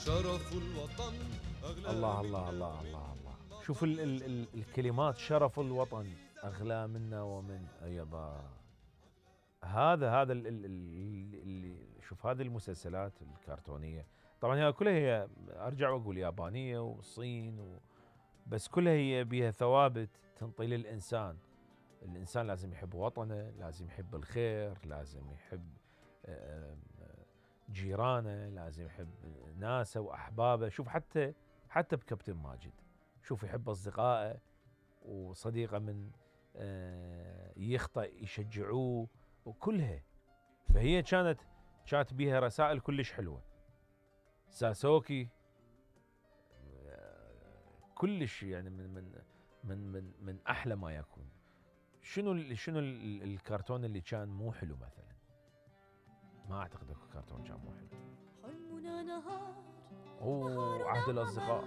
شرف الوطن أغلى الله الله الله الله الله. شوف ال الكلمات، شرف الوطن أغلى منا ومن يبا. هذا اللي شوف هذه المسلسلات الكرتونية طبعا هي كلها هي أرجع وأقول يابانية والصين بس كلها هي بيها ثوابت تنطي للإنسان. الإنسان لازم يحب وطنه، لازم يحب الخير، لازم يحب جيرانه، لازم يحب ناسه وأحبابه. شوف حتى بكابتن ماجد شوف يحب أصدقائه وصديقه من يخطئ يشجعوه وكلها. فهي كانت بيها رسائل كلش حلوة. ساسوكي كلش يعني من أحلى ما يكون. شنو الكرتون اللي كان مو حلو مثلا؟ ما أعتقد أكو كرتون كان مو حلو. حلمنا نهار عهد الأصدقاء.